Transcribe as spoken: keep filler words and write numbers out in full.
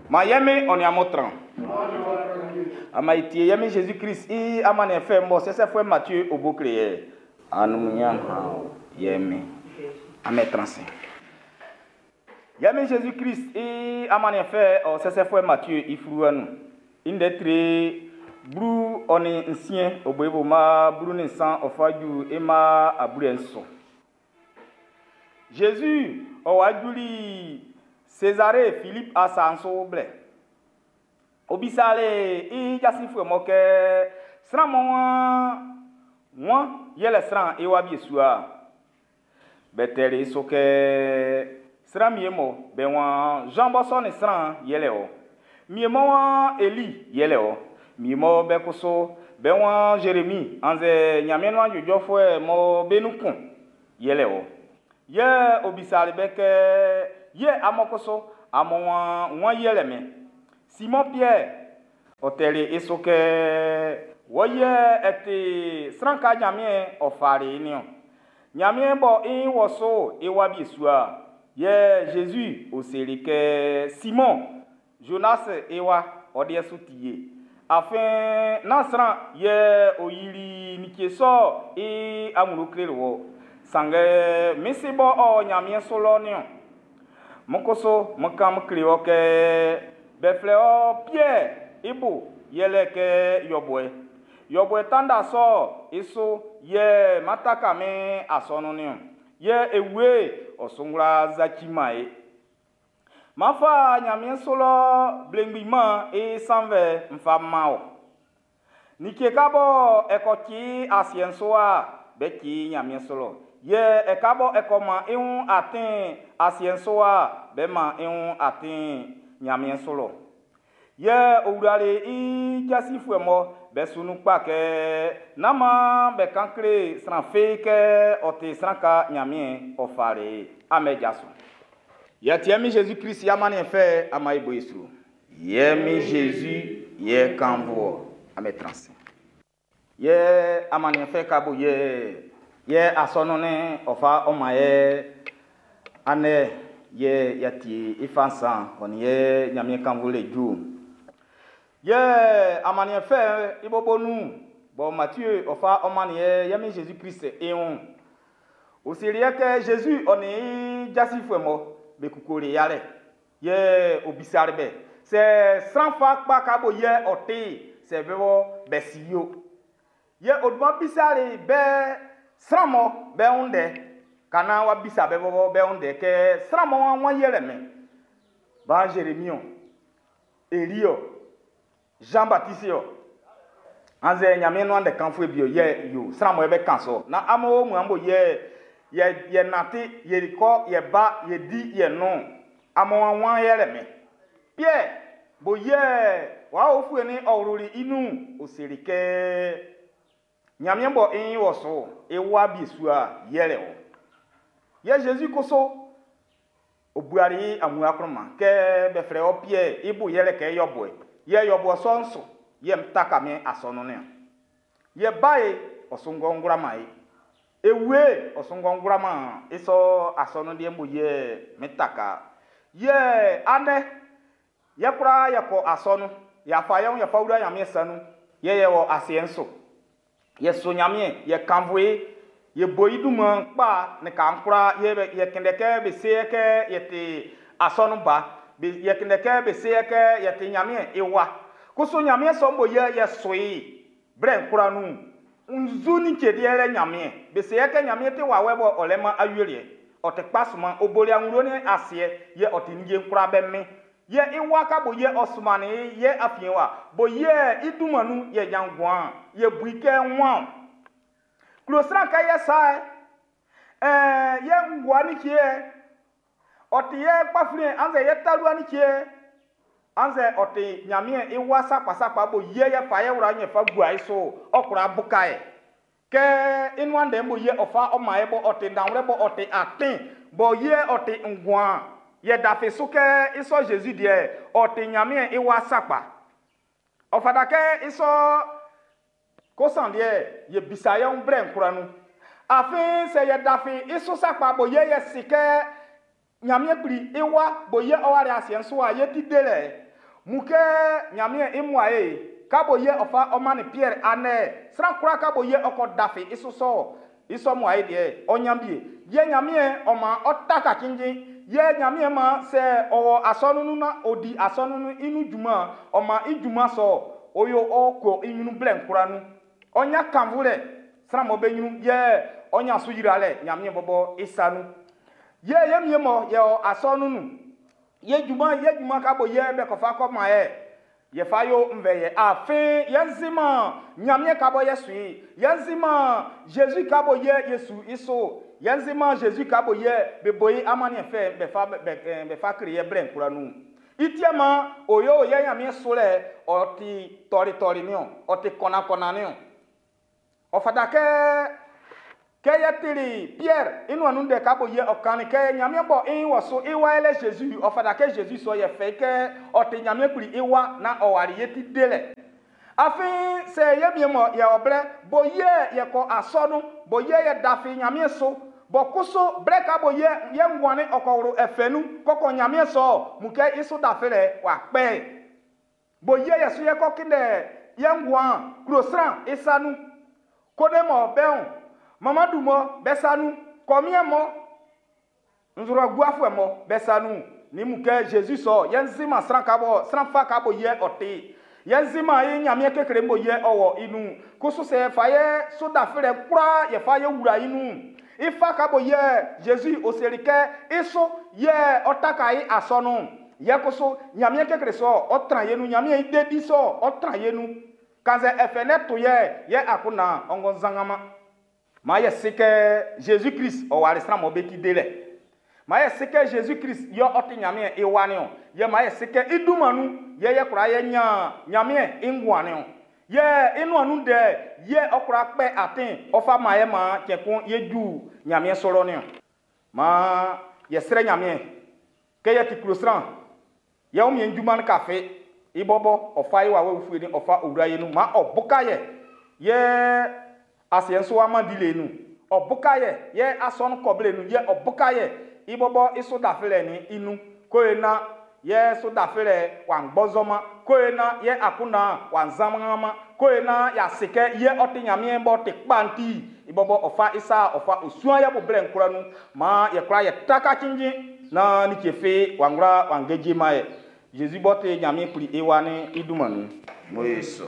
Ma yɛmi ɔ ni amun tran. Ama itie yɛmi Jésus Christ i amaniɛn fɛ mɔ sɛsɛfuɛ Mathieu obo kle yɛ. Anumunya ha yɛmi. Ame transe. Yɛmi Jésus Christ i amaniɛn fɛ ɔ sɛsɛfuɛ Mathieu i fluwa nun. I ndɛ tre blu ɔ ni nsiɛn o bo i bo ma blu ni nsan ɔ fa ju i ma abulɛ nso. Jésus ɔ wa juli Césarée Philippe asa'n su blɛ. Ɔ bisali i jasinfuɛ mɔ kɛ sran mɔ wan wan yɛlɛ sran i wa bisua. Be tɛli i su kɛ sran wie mɔ be waan Jean b'ɔ sɔnnin sran yɛlɛ ɔ. Wie mɔ waan Eli yɛlɛ ɔ. Wie mɔ be kusu be waan Jérémie annzɛ Ɲanmiɛn nuan ijɔfuɛ mɔ be nun kun yɛlɛ ɔ. Yɛ ɔ bisali be kɛ yɛ amun kusu amun waan wan yɛlɛ min. Simon Pierre ɔ tɛli i su kɛ wɔ yɛ ɛ ti sran ka Ɲanmiɛn ɔ fali niɔn. Ɲanmiɛn bɔ i wɔ so i wa bisua. Yɛ Jésus ɔ seli kɛ Simon Jonas i wa ɔ deɛ su ti ye. Afin nán sran yɛ ɔ yili like sɔ i anwlɛn kleli wɔ. Sanngɛ min si bɔ ɔ Ɲanmiɛn su lɔ niɔn. Mo kusu mo kan mo kle wɔ kɛ be flɛ ɔ Pierre i bo yɛlɛ kɛ yɔbuɛ. Yɔbuɛ tanda sɔ i su yɛ mataka min asɔnun niɔn. Yɛ ewie ɔ sungla zacima ye. Mafa Ɲanmiɛn su lɔ blengbiman i sanvɛ nfa ma o. Like ka bɔ ɛkɔ ci asiɛ'n su wa be ci Ɲanmiɛn su lɔ. Yɛ ɛka bɔ ɛkɔ ma i wun atin asiɛ'n su wa be ma i wun atin Ɲanmiɛn su lɔ. Yɛ ɔ wlali i jasinfuɛ mɔ be su nun kpa kɛ nán maan be kan kle sran fi kɛ ɔ ti sran ka Ɲanmiɛn ɔ fali amɛ jaso. Yɛ tiɛ mi Jésus Christ i amaniɛn fɛ ama i bo i su. Yɛ mi Jésus yɛ kanvɔ ame transe. Yɛ amaniɛn fɛ ka bo yɛ yɛ asɔnun ne ɔfa ɔma yɛ anɛ yɛ yɛtie ifa nsan ɔni yɛ Ɲanmiɛn kanvɔ le ju. Yɛ amaniɛn fɛ i bobo nun bɔ Mathieu ɔfa ɔma ni yɛ yɛ mi Jésus Christ i wun. O seli yɛ kɛ Jésus ɔni i jasinfuɛ mɔ be kukure yalɛ. Yɛ o bisali bɛ sɛ sran fa kpa ka bo yɛ ɔte sɛ bɛ bɔ bɛ si yo. Yɛ o duma bisali bɛ sran mɔ bɛ wunde kana wa bisa bɛ bɔ bɛ wunde kɛ sran mɔ wan wan yɛlɛ mɛ. Ba Jérémie o, Eli o, Jean Baptiste o. Anze Ɲanmiɛn nuan de kanfue bi o yɛ yo sran mɔ bɛ kan so. Na amo mu ambo yɛ yɛ yɛ nate yɛ kɔ yɛ ba yɛ di yɛ no. Amo wan wan yɛlɛ mɛ. Pierre bo yɛ wa ofue ni ɔwluli inu o seli kɛ Ɲanmiɛn bɔ i wɔ so i wa bisua yɛlɛ o. Yɛ Jésus koso o buari amu akroma kɛ bɛ flɛ ɔ Pierre i bo yɛlɛ kɛ yɔbɔɛ. Yɛ yɔbɔ sɔn so yɛ mtaka mi asɔnu ne. Yɛ ba ye ɔsungɔ ngrama ye. Ewe ɔsungɔ ngrama isɔ asɔnu deɛ mo yɛ mitaka. Yɛ anɛ yɛ kura yɛ kɔ asɔnu yafa yɛ yɛ fa wura nyamie sanu yɛ yɛ wɔ aseɛ nso. Yɛ so nyamie yɛ kanvoe yɛ bo iduma kpa ne kankura yɛ bɛ yɛ kɛndɛ kɛ bɛ se kɛ yɛ te asɔnu ba bɛ yɛ kɛndɛ kɛ bɛ se kɛ yɛ te nyamie ewa. Koso nyamie sɔ mo yɛ yɛ soe brɛ nkura nu nzu ni tse deɛ lɛ nyamie bɛ se kɛ nyamie te wa wɛ bɔ ɔlɛ ma ayuelie ɔte kpa suma oboli aŋuro ne aseɛ yɛ ɔte nidze nkura bɛ mi yɛ iwa ka bo yɛ ɔsumani yɛ afie wa bo yɛ idumanu yɛ nyanguan yɛ bui kɛ ŋua kulo sran kɛ yɛ sa ɛɛ yɛ ngua ni tsie ɔte yɛ kpafili anzɛ yɛ talua ni tsie anzɛ ɔte nyamie iwa sakpasakpa bo yɛ yɛ fa yɛ wura nyɛ fa gua yi so ɔkura buka yɛ kɛ inua ndɛ bo yɛ ɔfa ɔma yɛ bɔ ɔte danwlɛ bɔ ɔte atin bɔ yɛ ɔte nguan yɛ dafe so kɛ isɔ Jésus deɛ ɔte nyamie iwa sakpa ɔfada kɛ isɔ kosan deɛ yɛ bisa yɛ ŋu brɛ nkura nu afin sɛ yɛ dafe isɔ sakpa bo yɛ yɛ si kɛ nyamie kpli iwa bo yɛ ɔwari asiɛ nso a yɛ ti de lɛ Mu kɛ Ɲanmiɛn i muae ka bo yɛ ɔ fa ɔ mannin Piɛr andɛ. Sran kwlaa ka bo yɛ ɔ kɔ dafe i sɔ i sɔ muae deɛ ɔ ɲan bie. Yɛ Ɲanmiɛn ɔ man ɔ taka cinnjin. Yɛ Ɲanmiɛn man sɛ ɔwɔ asɔnun nun na odi asɔnun nun i nun junman ɔ man i junman sɔ oyo ɔ kɔ i ɲrun blɛ kwlaa nun. Ɔ nya kanvu lɛ sran mɔ be ɲrun yɛ ɔ nya su yira lɛ Ɲanmiɛn bɔbɔ i sa nun. Yɛ yɛ mie mɔ yɛ ɔ asɔnun nun. Yɛ junman yɛ junman ka bo yɛ bɛ kɔfa kɔ ma yɛ. Yɛ fa yo nvɛ yɛ afin yɛn nziman Ɲanmiɛn ka bɔ yɛ sui. Yɛn nziman Jésus ka bo yɛ Yesu i so. Yɛn nziman Jésus ka bo yɛ be bo i amaniɛn fɛ bɛ fa bɛ bɛ fa kle yɛ blɛ kwlaa nun. I tiɛ ma oyo yɛ Ɲanmiɛn so lɛ ɔ ti tɔli niɔn, ɔ ti kɔnakɔna niɔn. Ɔ fata kɛ kɛ yɛ tili Pierre i nuan nun ndɛ ka bo yɛ ɔ kannin kɛ Ɲanmiɛn bɔ i wɔ so i wa yɛlɛ Jésus ɔ fata kɛ Jésus sɔ yɛ fɛ kɛ ɔ ti Ɲanmiɛn kpli i wa na ɔ wali yɛ ti de lɛ. Afin sɛ yɛ mie mɔ yɛ ɔ blɛ bo yɛ yɛ kɔ asɔnu bo yɛ yɛ dafe Ɲanmiɛn so bɔ kusu blɛ ka bo yɛ yɛ nguanni ɔ kɔ wlo ɛfɛ nun kɔkɔ Ɲanmiɛn sɔ mu kɛ i so dafe lɛ wa kpɛ. Bo yɛ yɛ so yɛ kɔ kindɛ yɛ nguan klo sran i sa nun. Kone mɔ bɛn Mamadou mɔ bɛ sa nun kɔmiɛ mɔ nzura guafuɛ mɔ bɛ sa nun ni mu kɛ Jésus sɔ yɛn nzima sran ka bɔ sran fa ka bo yɛ ɔte yɛn nzima yi Ɲanmiɛn kekle mo yɛ ɔwɔ i nun kusu sɛ fa yɛ so dafe lɛ kura yɛ fa yɛ wura i nun i fa ka bo yɛ Jésus oseli kɛ i so yɛ ɔtaka yi asɔnu yɛ kusu Ɲanmiɛn kekle sɔ ɔtran yɛ nun Ɲanmiɛn i dedi sɔ ɔtran yɛ nun kanzɛ ɛfɛ nɛ to yɛ yɛ akuna ɔngɔ zangama. Ma yɛ se kɛ Jésus Christ ɔ wali sran mɔ be ti de lɛ. Ma yɛ se kɛ Jésus Christ yɛ ɔ ti Ɲanmiɛn i wa niɔn. Yɛ ma yɛ se kɛ i dunman nun yɛ yɛ kura yɛ nya Ɲanmiɛn i nguan niɔn. Yɛ i nuan nun dɛ yɛ ɔ kura kpɛ atin ɔ fa ma yɛ ma cɛn kun yɛ ju Ɲanmiɛn sɔrɔ niɔn. Ma yɛ srɛ Ɲanmiɛn kɛ yɛ ti klo sran yɛ wo mien junman kafe i bɔbɔ ɔ fa i wa wɛ fue ni ɔ fa owura yɛ nun ma ɔ buka yɛ yɛ asiɛ nso ama di le nu ɔ buka yɛ yɛ asɔnu kɔbile nu yɛ ɔ buka yɛ i bɔbɔ i so dafe lɛ ni i nu ko ye na yɛ so dafe lɛ wa gbɔzɔma ko ye na yɛ akuna wa nzamama ko ye na yase kɛ yɛ ɔte Ɲanmiɛn bɔ te kpanti i bɔbɔ ɔfa isa ɔfa osua yɛ bo blɛ nkura nu ma yɛ kura yɛ taka cincin na ni tse fe wa ŋgura wa ŋgedze ma yɛ Jésus bɔ te Ɲanmiɛn kpli i wa ni i duma nu. Mo Yesu.